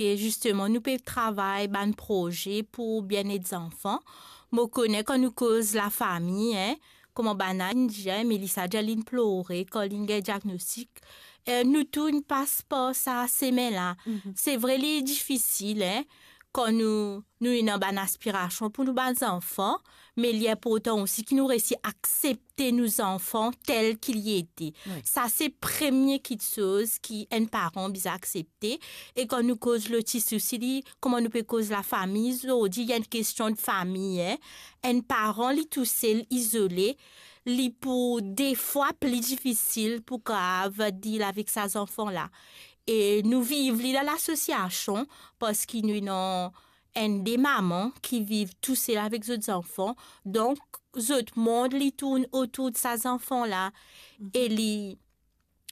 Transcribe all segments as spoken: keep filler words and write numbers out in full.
E zisteman, nou pe travay bann proze pou bienet zanfan. Mo kone kan nou koz lafami, en, kouma bann inn dir, Melissa dir linn plore kan linn gagn diagnostik. Eh, nou tou inn pas par sa semin la. Mhm. Se vre, li difisil, en, kan nou, nou ena bann aspirasion pou nou bann zanfan, me li inportan osi ki nou resi aksepte nou zanfan tel ki li ete. Wi. Sa se premie kiksoz ki enn paran bizin aksepte. E kan nou koz lotis osi, li, kouma nou pe koz lafami, zordi, li enn kestion de fami, en. Enn paran, li tousel, izole, li pou defwa pli difisil pou kapav deal avek sa zanfan la. E nou viv li dan lasosiasion, parski nou ena enn de mama ki viv tousel avek zot zanfan. Donk, zot mond, li tourn otour de sa zanfan la. Mhm. E li,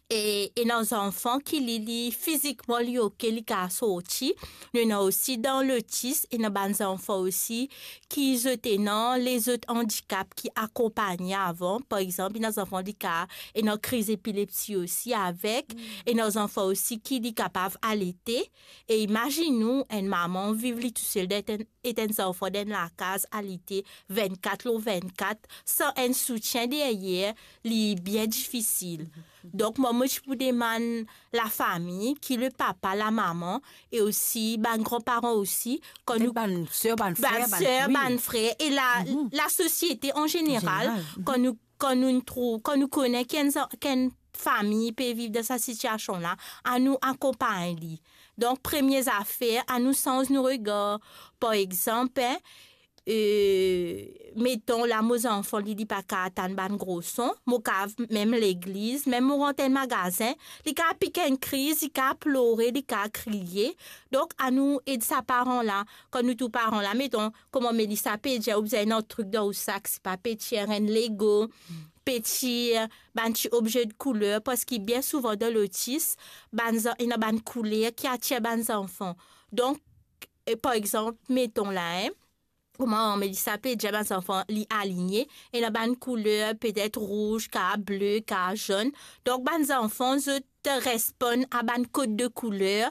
e, ena zanfan ki li, li fizikman, li oke, li kapav sorti. Nou ena osi dan lotis, ena bann zanfan osi ki zot ena lezot andikap ki akonpagne avan. Par exanp, ena zanfan li kapav ena kriz epilepsi osi avek. Mm. Ena zanfan osi ki li kapav alete. E imazinn ou, enn mama viv li tousel dan enn, et enn zanfan dan enn lakaz, alete vennkat lor vennkat, san enn soutien deryer, li bien difisil. Donk, mwa, mo ti pou demann lafami, ki le papa, lamama, e osi bann granparan osi, kan Petet nou bann ser, bann frer, bann bann ser, wi. Bann frer, e la, Mhm. lasosiete an zeneral, Zeneral, mhm. kan nou, kan nou trouv, kan nou kone ki enn za-, ki enn fami pe viv dan sa sitiasion la, anou akonpagn li. Donk, premie zafer, anou sanz nou regar. Par exanp, en, eh, meton la, mo zanfan li, li pa kapav tann bann gro son, mo kapav mem legliz, mem mo rant enn magazin, li kapav pik enn kriz, li kapav plore, li kapav kriye. Donk, anou ed sa paran la. Kan nou trouv paran la, meton, kouma Melissa pe dir, ou bizin enn trik dan ou sak, se pa peti enn Lego, peti, bann ti obze de kouler, parski bien souvan dan lotis, bann zan-, ena bann kouler ki atir bann zanfan. Donk, e, par exanp, meton la, en, kouma Melissa pe dir, bann zanfan, li aligne, ena bann kouler, petet rouz, ka ble, ka zonn. Donk, bann zanfan, zot responn a bann kod de kouler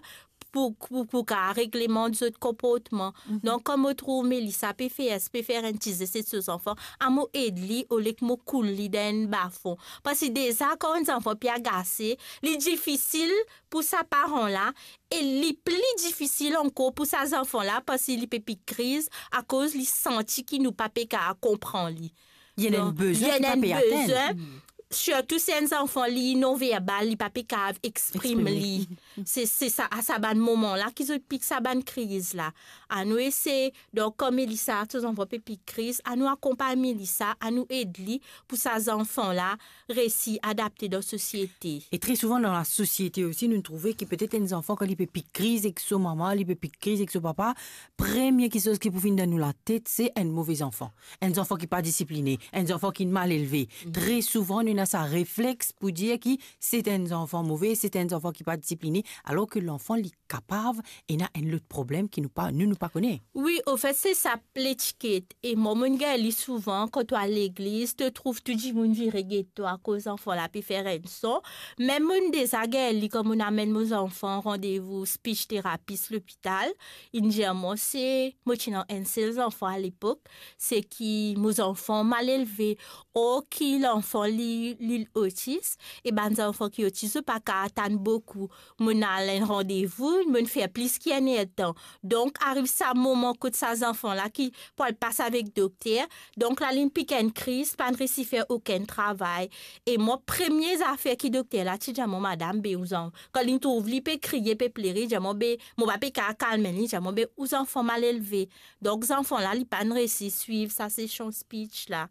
pou, pou, pou ka reglemant zot konportman. Mhm. Donk, kan mo trouv Melissa pe fer, pe fer enn ti zes so zanfan, a mo ed li, olie ki mo koul li dan enn bafon. Parski deza, kan enn zanfan pe agase, li difisil pou sa paran la, e li pli difisil ankor pou sa zanfan la, parski li pe pik kriz, akoz li santi ki nou pa pe kapav konpran li. Li ena enn Donk, bezwin li ena ki pa enn pe atenn. Bezwin, sirtou si enn zanfan li nonverbal, li pa pe kapav exprim Exprim li. Li. Se, se sa, a sa bann moman la ki zot pik sa bann kriz la. Anou esey, donk, kan Melissa, so zanfan pe pik kriz, anou akonpagn Melissa, anou ed li pou sa zanfan la resi adapte dan sosiete. E tre souvan dan lasosiete osi, nou trouve ki petet enn zanfan, kan li pe pik kriz ek so mama, li pe pik kriz ek so papa, premie kiksoz ki pou vinn dan nou latet, se enn move zanfan. Enn zanfan ki pa disipline, enn zanfan ki mal elve. Mhm. Tre souvan, nou ena sa reflex pou dir ki se enn zanfan move, se enn zanfan ki pa disipline, alor ki lanfan, li kapav ena enn lot problem ki nou pa, nou, nou pa kone. Wi, anfet, se sa letiket. E mwa, mo'nn gagn li souvan, kan to al legliz, to trouv tou dimoun vire get twa, akoz zanfan la pe fer enn son. Mem mo'nn deza gagn li, kan mo'nn amenn mo zanfan randevou speech therapist lopital, inn dir mwa, se, mo ti ena enn sel zanfan alepok, se ki mo zanfan mal elve, or ki lanfan li, li otis, e bann zanfan ki otis, zot pa kapav tann boukou. Mo'nn al enn randevou, mo'nn fer plis ki enn er tan. Donk, ariv sa moman kot sa zanfan la ki pou al pas avek dokter. Donk, la, linn pik enn kriz, pa'nn resi fer okenn travay. E mwa, premie zafer ki dokter la ti dir mwa, madam, be ou zan-, kan linn trouv li pe kriye, pe plere, dir mwa, be, mo pa pe kapav kalm li, dir mwa, be ou zanfan mal elve. Donk, zanfan la, li pa'nn resi swiv sa sesion speech la.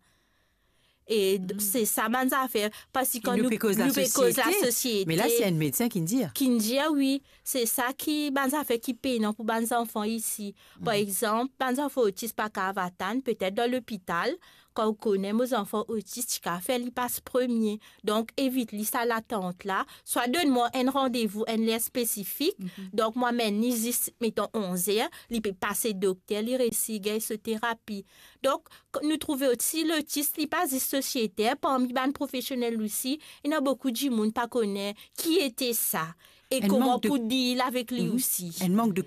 E d-, Hmm. se sa bann zafer, parski kan Nou nou, pe koz nou pe koz lasosiete, lasosiete, me la, se enn medsin ki'nn dir. Ki'nn dir, wi, se sa ki, bann zafer ki penan pou bann zanfan isi. Par Mhm. exanp, bann zanfan otis pa kapav atann, petet dan lopital, kan ou kone mo zanfan otis, ti kapav fer li pas premie. Donk, evit li sa latant la, swa donn mwa enn randevou, enn ler spesifik. Mhm. Donk, mwa amenn li zis, meton, onz er, li pe pase dokter, li resi gagn so terapi. Donk, k-, nou trouve osi lotis, li pa zis sosiete, parmi bann profesionel osi, ena boukou dimoun pa kone ki ete sa. E kouma pou deal avek li osi. Enn mank de